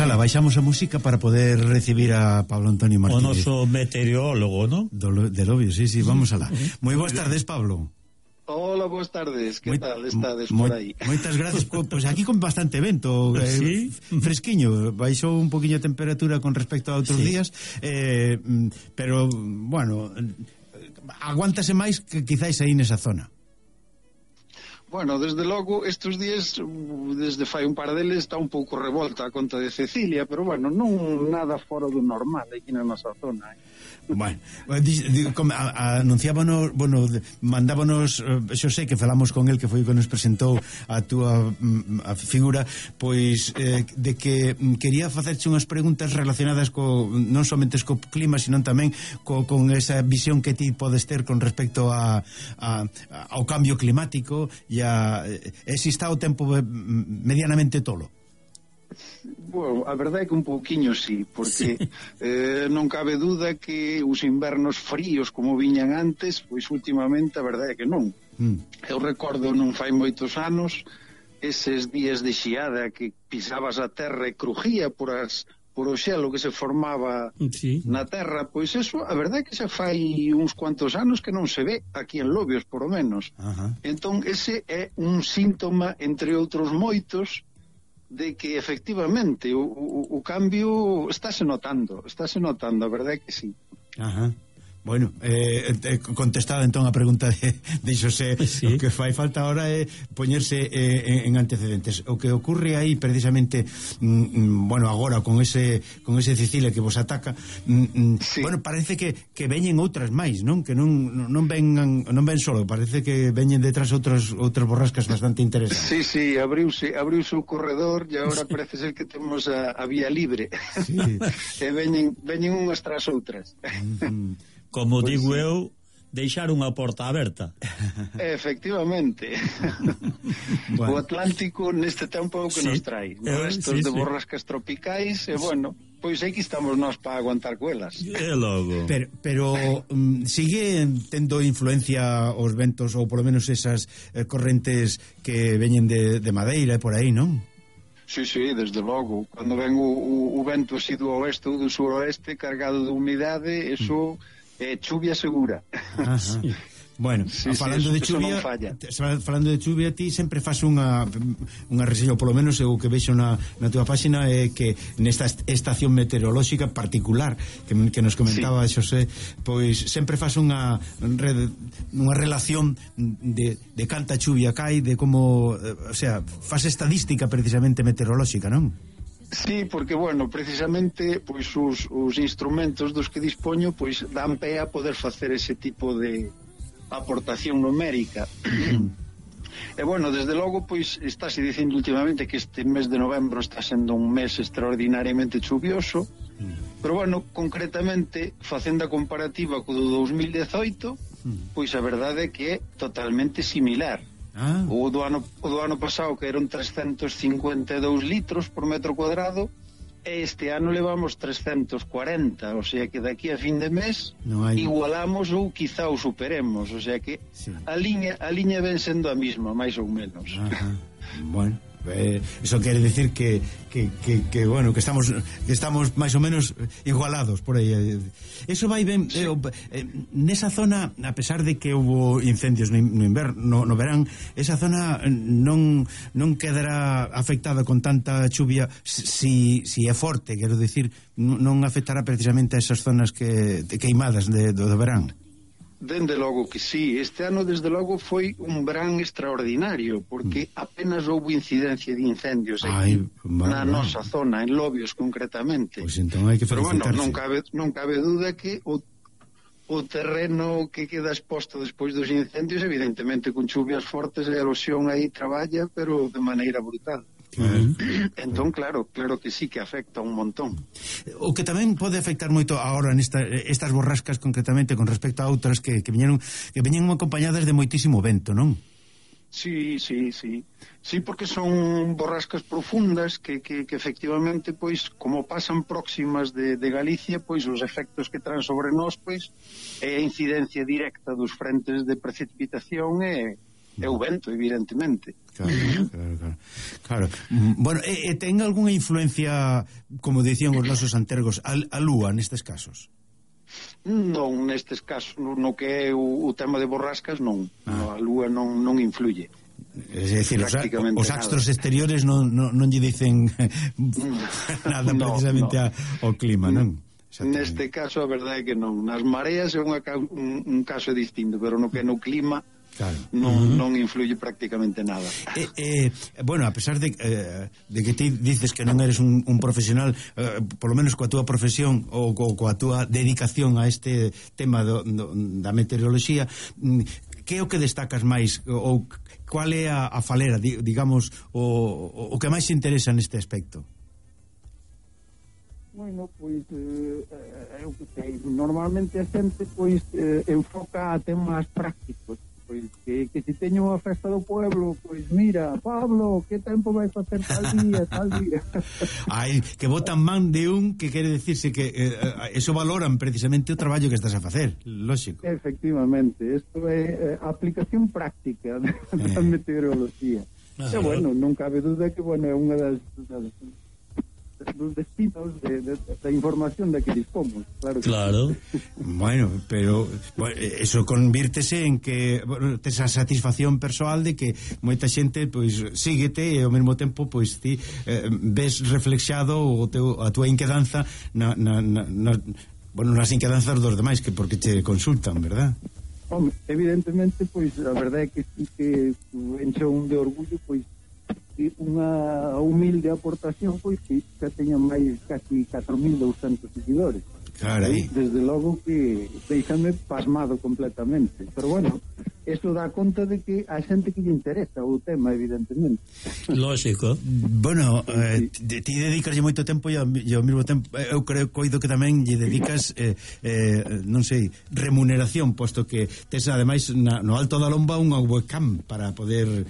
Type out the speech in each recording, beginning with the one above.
ala, baixamos a música para poder recibir a Pablo Antonio Martínez. O noso meteorólogo, ¿no? De Lobio, sí, vamos alá. Moi boas tardes, Pablo. Hola, boas tardes, que tal estades por aí? Moitas gracias, pois aquí con bastante vento, ¿Sí? Fresquiño, baixou un poquinho a temperatura con respecto a outros días, pero, bueno, aguántase máis que quizáis aí nesa zona. Bueno, desde logo, estes días, desde fai un par deles, está un pouco revolta a conta de Cecilia, pero bueno, non nada fora do normal aquí na nosa zona. Bueno, anunciábanos, bueno, mandábanos, Xosé, que falamos con el, que foi que nos presentou a túa a figura, pois de que quería facerche unhas preguntas relacionadas non somente co clima, sino tamén con esa visión que ti podes ter con respecto ao cambio climático e se está o tempo medianamente tolo. Bueno, a verdade é que un pouquiño sí, porque non cabe duda que os invernos fríos como viñan antes, pois últimamente a verdade é que non. Eu recordo non fai moitos anos eses días de xiada que pisabas a terra e crujía por o xelo que se formaba na terra, pois eso, a verdade é que xa fai uns cuantos anos que non se ve aquí en Lobios, por lo menos. Entón, ese é un síntoma, entre outros moitos, de que efectivamente o cambio estáse notando, a verdade é que sí. Bueno, contestada entón a pregunta de Xosé, o que fai falta ahora é poñerse en antecedentes. O que ocurre aí precisamente, bueno, agora con ese Cecilia que vos ataca, bueno, parece que veñen outras máis, non? Que non ven solo, parece que veñen detrás outras borrascas bastante interesantes. Sí, abriuse o corredor e agora parece ser que temos a vía libre. E veñen unhas tras outras. Como pues digo eu, deixar unha porta aberta. Efectivamente. Bueno. O Atlántico neste tempo é o que nos trai. Restos de borrascas tropicais e, bueno, pois aquí estamos nós para aguantar coelas. E logo. Pero sigue tendo influencia os ventos, ou polo menos esas correntes que veñen de Madeira e por aí, non? Sí, desde logo. Cando ven o vento así do oeste ou do suroeste cargado de umidade, eso é chuvia segura. Bueno, falando de chuvia, ti sempre faz unha reseña, polo menos o que vexo na túa página é que nesta estación meteorolóxica particular que nos comentaba Xosé, pois sempre faz unha relación de canta chuvia cai, de como, o sea, faz estadística precisamente meteorolóxica, non? Sí, porque, bueno, precisamente pois os instrumentos dos que dispoño pois dan pé a poder facer ese tipo de aportación numérica. E, bueno, desde logo, pois estáse dicindo últimamente que este mes de novembro está sendo un mes extraordinariamente chuvioso, pero, bueno, concretamente, facendo a comparativa co do 2018, pois a verdade é que é totalmente similar. O do ano pasado, que eran 352 litros por metro cuadrado, e este ano levamos 340, o sea que daqui a fin de mes igualamos ou quizá o superemos, o sea que a liña ven sendo a mesma, máis ou menos. Bueno, eso quere decir que bueno, que estamos máis ou menos igualados por aí. Eso vai ben, nesa zona, a pesar de que houve incendios no inverno, no verán, esa zona non quedará afectada con tanta chuvia si é forte, quero decir, non afectará precisamente a esas zonas queimadas do verán. Dende logo que sí, este ano desde logo foi un verán extraordinario, porque apenas houve incidencia de incendios aquí na nosa zona, en Lobios concretamente. Pois entón hai que felicitarse. Pero bueno, non cabe duda que o terreno que queda exposto despois dos incendios, evidentemente con chuvias fortes a erosión aí traballa, pero de maneira brutal. Entón, claro que sí que afecta un montón. O que tamén pode afectar moito agora estas borrascas concretamente con respecto a outras que veñen acompañadas de moitísimo vento, non? Sí, porque son borrascas profundas que efectivamente, pois, como pasan próximas de Galicia, pois os efectos que traen sobre nós, pois, é a incidencia directa dos frentes de precipitación e é o vento, evidentemente. Claro. Bueno, ten algunha influencia, como dicían os nosos antergos, a lúa nestes casos? Non, nestes casos, no que é o tema de borrascas, non. A lúa non influye. É dicir, os astros exteriores non lle dicen nada precisamente ao clima, non? Neste caso a verdade é que non. Nas mareas é un caso distinto, pero no que no clima non influye prácticamente nada. Bueno, a pesar de que ti dices que non eres un profesional, por lo menos coa túa profesión ou coa túa dedicación a este tema da meteoroloxía, que é o que destacas máis, ou cual é a falera, digamos, o que máis se interesa neste aspecto? Bueno, pois eu que sei, normalmente a xente pois enfoca a temas prácticos, pois que se teño a festa do pueblo, pois mira, Pablo, que tempo vai facer tal día. Ai, que botan man de un, que quere decirse que eso valoran precisamente o traballo que estás a facer, lógico. Efectivamente, isto é aplicación práctica da meteoroloxía. E bueno, non cabe duda que bueno, é unha dos destinos da información da que dispomos, claro. Bueno, pero eso convírtese en que tes a satisfacción persoal de que moita xente pois síguete e ao mesmo tempo pois ti ves reflexado a túa inquedanza nas inquedanzas dos demais, que porque te consultan, verdad? Home, evidentemente, pois a verdade é que sí que enche un de orgullo, pois unha humilde aportación, pois que xa teña máis casi 4.200 seguidores. Carai. Desde logo que deixame pasmado completamente, pero bueno, eso dá conta de que a xente que lle interesa o tema, evidentemente. Lógico. Bueno, ti dedicas moito tempo e ao mesmo tempo eu coido que tamén lle dedicas non sei, remuneración, posto que tes ademais no alto da lomba unha webcam para poder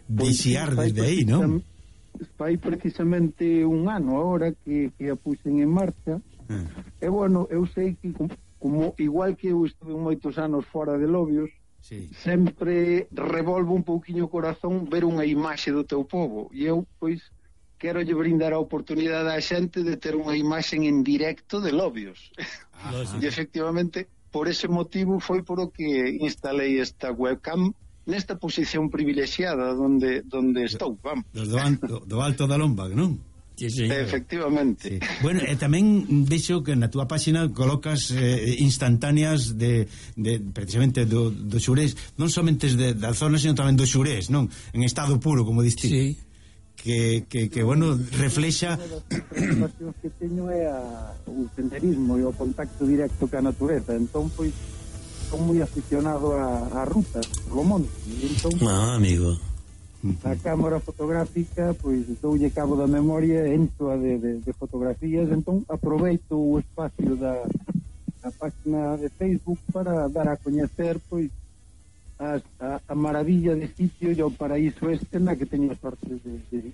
vixiar desde aí, non? Fai precisamente un ano agora que a puxen en marcha. E bueno, eu sei que como igual que eu estuve moitos anos fora de Lobios, sempre revolvo un pouquiño o corazón ver unha imaxe do teu povo, e eu pois quero lle brindar a oportunidade á xente de ter unha imaxe en directo de Lobios. E efectivamente por ese motivo foi por o que instalei esta webcam nesta posición privilexiada donde estou, vamos. Do alto da lomba, non? Sí. Efectivamente. Sí. Bueno, e tamén vexo que na túa páxina colocas instantáneas de precisamente do xurés, non somente da zona, sino tamén do xurés, non? En estado puro, como diste. Sí. Que bueno, reflexa. As preocupacións que teño é o senderismo e o contacto directo ca natureza, entón, pois, son moi aficionado a rutas, polo monte. Entón, amigo, a cámara fotográfica, pois doulle cabo da memoria, entoa de fotografías, entón aproveito o espacio da página de Facebook para dar a coñecer pois a maravilla de sitio e o paraíso este na que teño a sorte de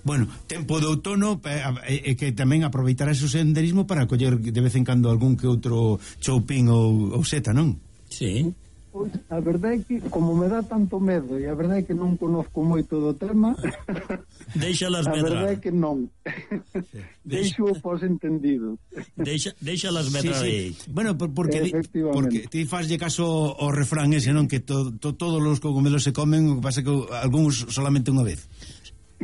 Bueno, tempo de outono que tamén aproveitarás o senderismo para coller de vez en cando algún que outro choupín ou seta, non? Sí. Pois a verdade é que como me dá tanto medo e a verdade é que non conozco moito do tema, Deixalas medrar. A verdade é que non. Deixo o posentendido. Deixalas medrar aí. Bueno, porque ti faslle caso ao refrán ese, non? Que todos os cogumelos se comen, o que pasa que algúns solamente unha vez.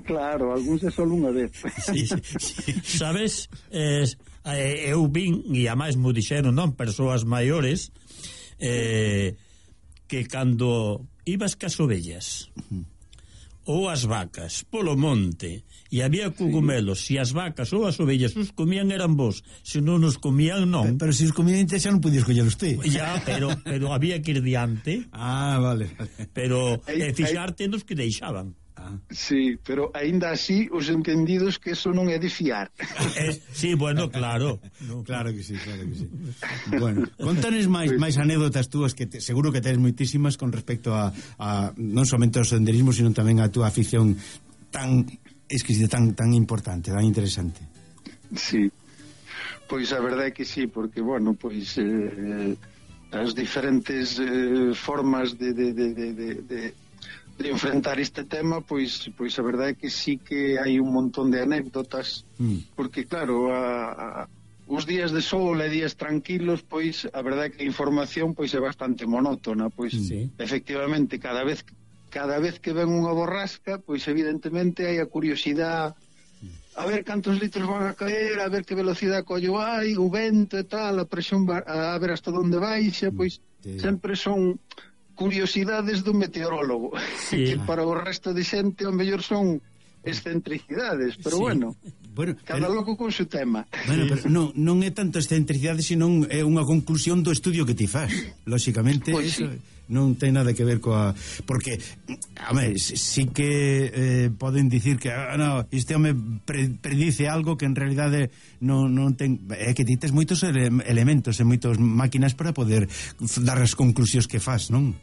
Claro, algúns é solo unha vez. Sí. Sabes, eu vin, e a máis mo dixeron, non, persoas maiores, que cando ibas cas ovellas ou as vacas polo monte e había cogumelos, se as vacas ou as ovellas os comían eran vos, se non os comían non. Pero se os comían xa non podías collelos ti. Ya, pero había que ir diante. Vale. Pero fixarte nos que deixaban. Sí, pero aínda así os entendidos que eso non é de fiar. Sí, bueno, claro. Claro que sí. Bueno, contanes máis anécdotas túas que seguro que tens moitísimas con respecto a non somente ao senderismo, sino tamén a túa afición tan exquisita, tan importante, tan interesante. Sí. Pois a verdade é que sí, porque bueno, pois as diferentes formas de enfrentar este tema, pois a verdade é que sí que hai un montón de anécdotas, porque claro, os días de sol e días tranquilos, pois a verdade é que a información pois é bastante monótona, pois efectivamente cada vez que ven unha borrasca, pois evidentemente hai a curiosidade a ver cantos litros van a caer, a ver que velocidade collo hai, o vento e tal, a presión, a ver hasta onde baixa, pois sempre son curiosidades do meteorólogo, que para o resto de xente ao mellor son excentricidades, pero bueno, cada loco con seu tema. Bueno, pero non é tanto excentricidade, senón é unha conclusión do estudio que ti faz. Lóxicamente, pues eso non ten nada que ver coa... Porque, a ver, sí que poden dicir que este home predice algo que en realidade non ten... É que ti tes moitos elementos e moitas máquinas para poder dar as conclusións que faz, non?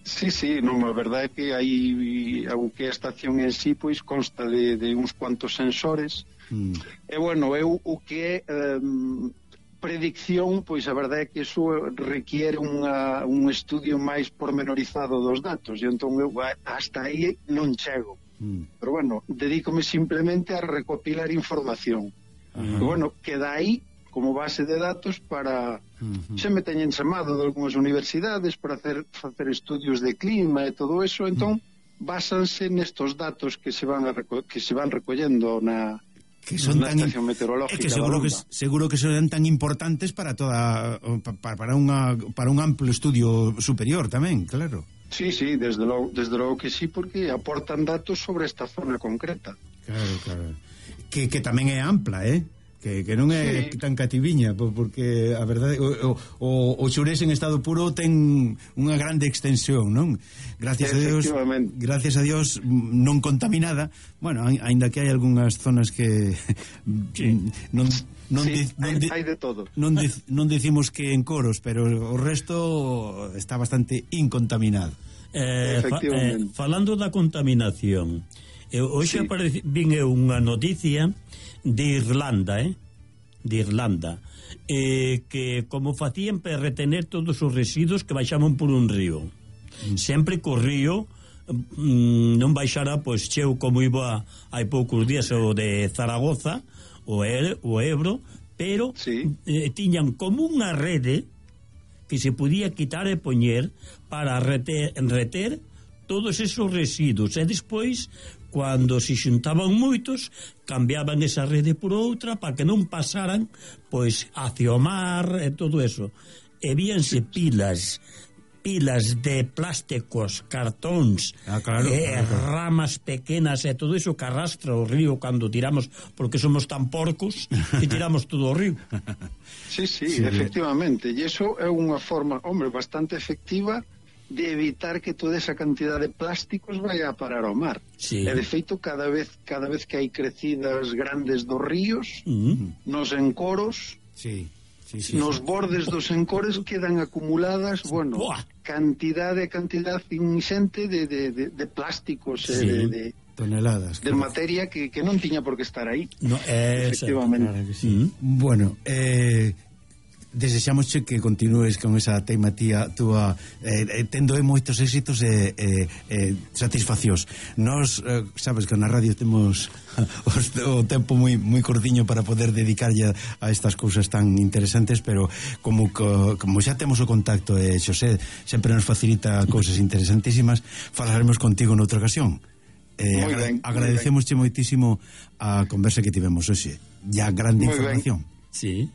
Sí, non, a verdade é que hai o que a estación en sí pois consta de uns cuantos sensores e bueno, o que é predicción, pois a verdade é que iso requiere un estudio máis pormenorizado dos datos e entón eu hasta aí non chego, pero bueno, dedícome simplemente a recopilar información e bueno, queda aí como base de datos para xa me teñen chamado de algunhas universidades para facer estudios de clima e todo eso, entón básanse nestos datos que se van recollendo na estación meteorológica. Que seguro que son tan importantes para para un amplo estudio superior tamén, claro. Sí, desde logo que sí, porque aportan datos sobre esta zona concreta. Claro. Que tamén é ampla, que non é tan cativiña, porque a verdade o Xurés en estado puro ten unha grande extensión, non? Gracias a Dios non contaminada. Bueno, aínda que hai algunhas zonas que hai de todo. Non decimos que en Coros, pero o resto está bastante incontaminado. Falando da contaminación, hoxe vin unha noticia de Irlanda, que como facían para retener todos os residuos que baixaban por un río, sempre que o río non baixara pois cheo como iba hai poucos días o de Zaragoza, o Ebro, pero tiñan como unha rede que se podía quitar e poñer para reter todos esos residuos e despois cando se xuntaban moitos cambiaban esa rede por outra para que non pasaran pois hacia o mar e todo eso, e víanse pilas de plásticos, cartóns, ramas pequenas e todo eso que arrastra o río cando tiramos, porque somos tan porcos que tiramos todo o río. Sí, efectivamente, e iso é unha forma, bastante efectiva de evitar que toda esa cantidad de plásticos vaya a parar ao mar. E de feito, cada vez que hai crecidas grandes dos ríos, nos encoros, nos bordes dos encores quedan acumuladas, cantidad inxente de plásticos de toneladas de materia que non tiña por que estar aí. Efectivamente. Claro que sí. Bueno, desexámosche que continúes con esa teimatía túa, tendo moitos éxitos e satisfaccións. Nos sabes que na radio temos o tempo moi cortiño para poder dedicarlle a estas cousas tan interesantes, pero como xa temos o contacto e Xosé sempre nos facilita cousas interesantísimas, falaremos contigo noutra ocasión. Agradecemosche moitísimo a conversa que tivemos hoxe e a grande información. Sí.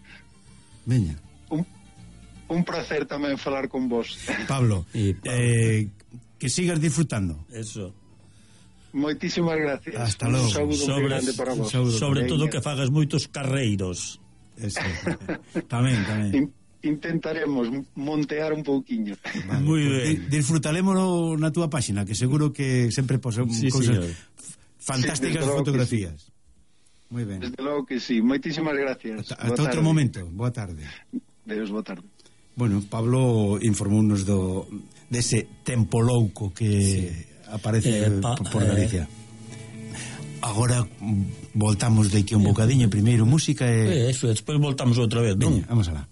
Veña. Un placer tamén falar con vos, Pablo. Que sigas disfrutando. Eso. Moitísimas gracias. Hasta logo. Un saúdo moi grande para vos. Sobre todo que fagas moitos carreiros. Eso. Tamén. Intentaremos montear un pouquiño. Vale, moi ben. Disfrutaremos na túa páxina, que seguro que sempre posen cousas fantásticas fotografías. Moi ben. Desde logo que sí. Moitísimas gracias. Hasta outro momento. Boa tarde. Deus, boa tarde. Bueno, Pablo informounos dese tempo louco que aparece por Galicia. Agora voltamos de aquí un bocadiño, primeiro música e... Eso, despois voltamos outra vez, non? Vamos alá.